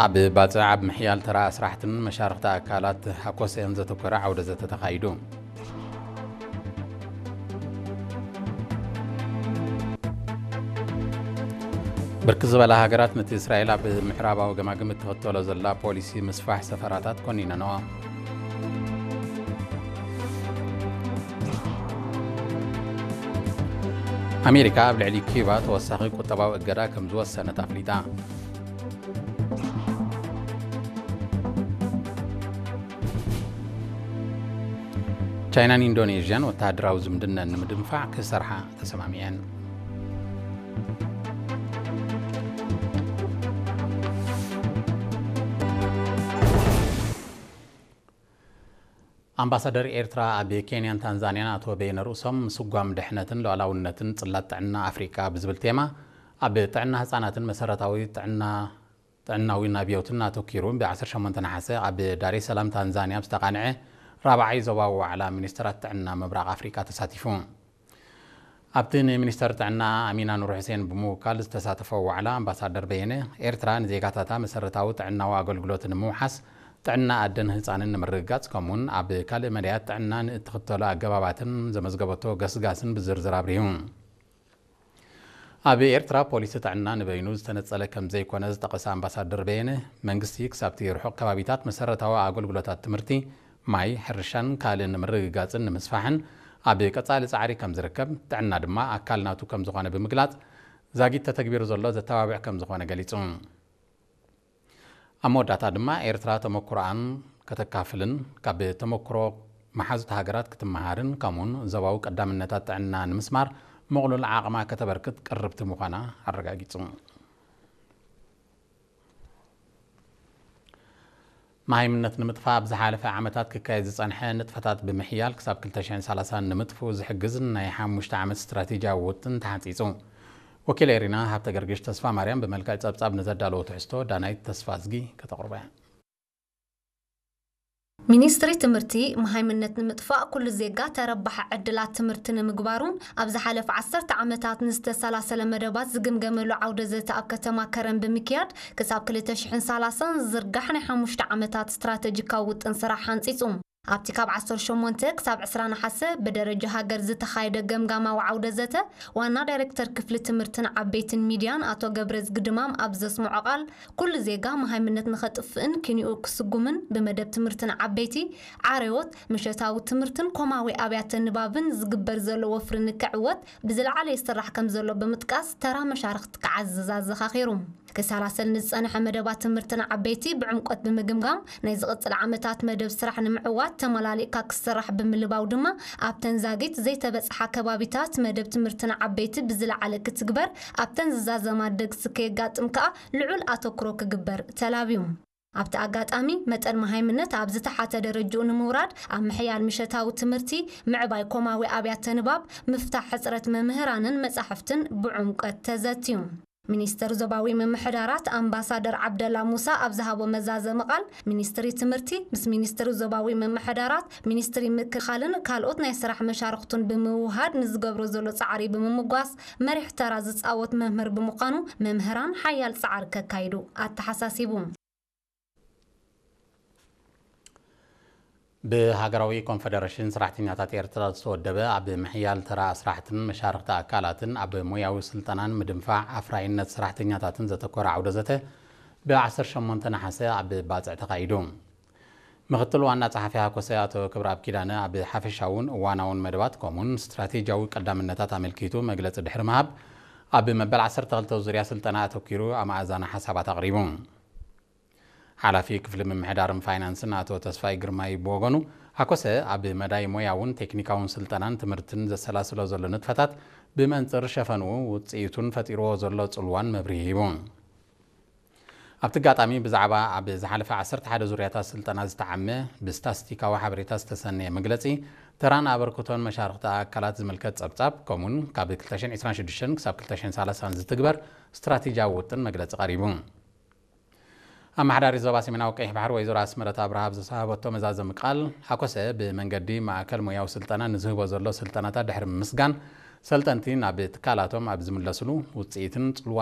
ኣብ ባጽዕ ኣብ ምሕያል ተራ ኣስራሕትን መሻርኽቲ ኣካላት ሃኮሰን ዘተኮረ ዓውደ ዘተ ተኻይዱ። ብርክት ዝበላ ሃገራት ነቲ እስራኤል ኣብ ምዕራባዊ ገማግም እትኽተሎ ዘላ ፖሊሲ ምስፋሕ ሰፈራታት ኮኒነንኦ። ኣሜሪካ ኣብ ልዕሊ ኪዩባ ተወሳኺ ቁጠባዊ እገዳ ከም ዝወሰነት ኣፍሊጣ። ቻይናን ኢንዶኔዥያን ወተሃደራዊ ዝምድነን ንምድንፋዕ ክሰርሓ ተሰማሚዐን። ኣምባሳደር ኤርትራ ኣብ ኬንያን ታንዛንያን ኣቶ በየነ ርእሶም፣ ስጓም ድሕነትን ሉዓላውነትን ጽላት ጥዕና ኣፍሪቃ ብዝብል ቴማ ኣብ ጥዕና ህጻናትን መሰረታዊ ጥዕና ጥዕናዊ ናብዮትን ኣተኪሩ ብ ዓሰርተ ሸሞንተ ነሓሰ ኣብ ዳሬ ሰላም ታንዛንያ ኣብ ዝተቓንዐ ራብዓይ ዞባዊ ዋዕላ ሚኒስተራት ጥዕና ምብራቕ ኣፍሪቃ ተሳቲፉ። ኣብቲ ንሚኒስተር ጥዕና ኣሚና ኑር ሑሴን ብምውካል ዝተሳተፈ ዋዕላ ኣምባሳደር በየነ፣ ኤርትራ ንዜጋታታ መሰረታዊ ጥዕናዊ ኣገልግሎት ንምውሓስ፣ ጥዕና ኣደን ህጻንን ንምርግጋጽ፣ ከምኡውን ኣብ ካልእ መዳያት ጥዕና ንእትኽተሎ ኣገባባትን ዘመዝገበቶ ገስጋስን ብዝርዝር ኣብሪሁ። ኣብ ኤርትራ ፖሊሲ ጥዕና ንበይኑ ዝተነጸለ ከም ዘይኮነ ዝጠቐሰ ኣምባሳደር በየነ፣ መንግስቲ ክሳብቲ ርሑቕ ከባቢታት መሰረታዊ ኣገልግሎታት ትምህርቲ፣ ማይ፣ ሕርሻን ካልእን ንምርግጋጽን ንምስፋሕን ኣብ ቀጻሊ ጻዕሪ ከም ዝርከብ፣ ጥዕና ድማ ኣካል ናቱ ከም ዝኾነ ብምግላጽ፣ ዛጊት ተተግቢሩ ዘሎ ዘተባብዕ ከም ዝኾነ ገሊጹ። ኣብ መወዳእታ ድማ ኤርትራ ተመኩሮኣን ከተካፍልን ካብ ተመኩሮ መሓዙት ሃገራት ክትመሃርን ከምኡን ዞባዊ ቀዳምነታት ጥዕና ንምስማር ምቕሉል ዓቕማ ከተበርክት ቅርብቲ ምዃና ኣረጋጊጹ። መሃይምነት ንምጥፋእ ኣብ ዝሓለፈ ዓመታት ክካየድ ዝጸንሐ ንጥፈታት ብምሕያል ክሳብ ክልተ ሽሕን ሰላሳን ንምጥፍኡ ዝሕግዝ ናይ ሓሙሽተ ዓመት ስትራቴጂያዊ ውጥን ተሓንጺጹ። ወኪል ኤሪና ሃብተ ገርግሽ ተስፋ ማርያም ብመልክዕ ጸብጻብ ንዘዳለዎ ትሕዝቶ ዳናይት ተስፋ ኣዝጊ ከተቕርቦ እያ። ሚኒስትሪ ትምህርቲ መሃይምነት ንምጥፋእ ኩሉ ዜጋ ተረባሒ ዕድላት ትምህርቲ ንምግባሩን ኣብ ዝሓለፈ ዓሰርተ ዓመታት ንዝተሰላሰለ መደባት ዝግምገመሉ ዓውደ ዘተ ኣብ ከተማ ከረን ብምክያድ ክሳብ ክልተ ሽሕን ሰላሳን ዝዝርጋሕ ናይ ሓሙሽተ ዓመታት ስትራተጂካዊ ውጥን ስራሕ ሓንጺጹ። ኣብቲ ካብ ዓሰርተ ሸሞንተ ክሳብ ዕስራ ነሓሰ ብደረጃ ሃገር ዝተኻየደ ገምጋማዊ ዓውደ ዘተ፣ ዋና ዳይሬክተር ክፍሊ ትምህርትን ዓበይትን ሚድያን ኣቶ ገብረዝጊ ድማም ኣብ ዘስምዖ ቃል፣ ኩሉ ዜጋ መሃይምነት ንኸጥፍእን ኪንኡ ክስጉምን ብመደብ ትምህርትን ዓበይቲ፣ ዓረዎት፣ ምሸታዊ ትምህርትን ኮማዊ ኣብያተ ንባብን ዝግበር ዘሎ ወፍሪ ንክዕወት ብዝለዓለ ይስራሕ ከም ዘሎ ብምጥቃስ፣ ተራ መሻርኽቲ ክዓዝዝ ኣዘኻኺሩ። ክሰላሰል ንዝጸንሐ መደባት ትምህርትን ዓበይቲ ብዕምቆት ብምግምጋም፣ ናይ ዝቕጽል ዓመታት መደብ ስራሕ ንምዕዋት ተመላሊእካ ክስራሕ ብምልባው ድማ፣ ኣብተን ዛጊት ዘይተበጽሓ ከባቢታት መደብ ትምህርትን ዓበይቲ ብዝለዓለ ክትግበር፣ ኣብተን ዝዛዘማ ደግሲ ከየጋጥም ከኣ ልዑል ኣተኩሮ ክግበር ተላብዩ። ኣብቲ ኣጋጣሚ፣ መጠን መሃይምነት ኣብ ዝተሓተ ደረጅኡ ንምውራድ፣ ኣብ ምሕያል ምሸታዊ ትምህርቲ፣ ምዕባይ ኮማዊ ኣብያተ ንባብ፣ ምፍታሕ ሕጽረት መምህራንን መጻሕፍትን ብዕምቆት ተዘትዩ። ሚኒስተር ዞባዊ ምምሕዳራት ኣምባሳደር ዓብደላ ሙሳ ኣብ ዝሃቦ መዛዘሚ ቃል፣ ሚኒስትሪ ትምህርቲ ምስ ሚኒስትሪ ዞባዊ ምምሕዳራት፣ ሚኒስትሪ ምክልኻልን ካልኦት ናይ ስራሕ መሻርኽቱን ብምውህሃድ ንዝገብሮ ዘሎ ጻዕሪ ብምምጓስ፣ መሪሕ ተራ ዝጻወት መምህር ብምዃኑ መምህራን ሓያል ጻዕሪ ከካይዱ ኣተሓሳሲቡ። ብሃገራዊ ኮንፈደረሽን ሰራሕተኛታት ኤርትራ ዝተወደበ ኣብ ምሕያል ተራ ኣስራሕትን መሻርኽቲ ኣካላትን ኣብ ሞያዊ ስልጠናን ምድንፋዕ ኣፍራይነት ሰራሕተኛታትን ዘተኮረ ዓውደ ዘተ ብ ዓሰርተ ሸሞንተ ነሓሰ ኣብ ባጽዕ ተኻይዱ። ምኽትል ዋና ጸሓፊ ሃኮሰ ኣቶ ክብረኣብ ኪዳነ ኣብ ሓፈሻውን እዋናውን መደባት ከምኡን ስትራቴጂያዊ ቀዳምነታት ኣመልኪቱ መግለጺ ድሕሪ ምሃብ፣ ኣብ መበል ዓሰርተ ክልተ ዙርያ ስልጠና ኣተኪሩ ኣመኣዛኒ ሓሳባት ኣቕሪቡ። ሓላፊ ክፍሊ ምምሕዳርን ፋይናንስን ኣቶ ተስፋይ ግርማይ ብወገኑ፣ ሃኮሰ ኣብ መዳይ ሞያውን ቴክኒካውን ስልጠናን ትምህርትን ዘሰላስሎ ዘሎ ንጥፈታት ብመንጽር ሸፈንኡ ውጽኢቱን ፈጢርዎ ዘሎ ጽልዋን መብርሂ ሂቡ። ኣብቲ ኣጋጣሚ ብዛዕባ ኣብ ዝሓለፈ ዓሰርተ ሓደ ዙርያታት ስልጠና ዝተዓመ ብስታስቲካዊ ሓበሬታ ዝተሰነየ መግለጺ፣ ተራን ኣበርክቶን መሻርኽቲ ኣካላት ዝምልከት ጸብጻብ፣ ከምኡን ካብ ክልተ ሽሕን ዕስራን ሽዱሽተን ክሳብ ክልተ ሽሕን ሰላሳን ዝትግበር ስትራቴጂያዊ ውጥን መግለጺ ቀሪቡ። ኣመሓዳሪ ዞባ ሰሜናዊ ቀይሕ ባሕሪ ወይዘሮ ኣስመረት ኣብርሃ ኣብ ዝሰሃበቶ መዛዘሚ ቃል፣ ሃኮሰ ብመንገዲ ማእከል ሞያዊ ስልጠና ንዝህቦ ዘሎ ስልጠናታት ድሕሪ ምምስጋን፣ ሰልጠንቲ ናብ ትካላቶም ኣብ ዝምለስሉ ውጽኢትን ጽልዋ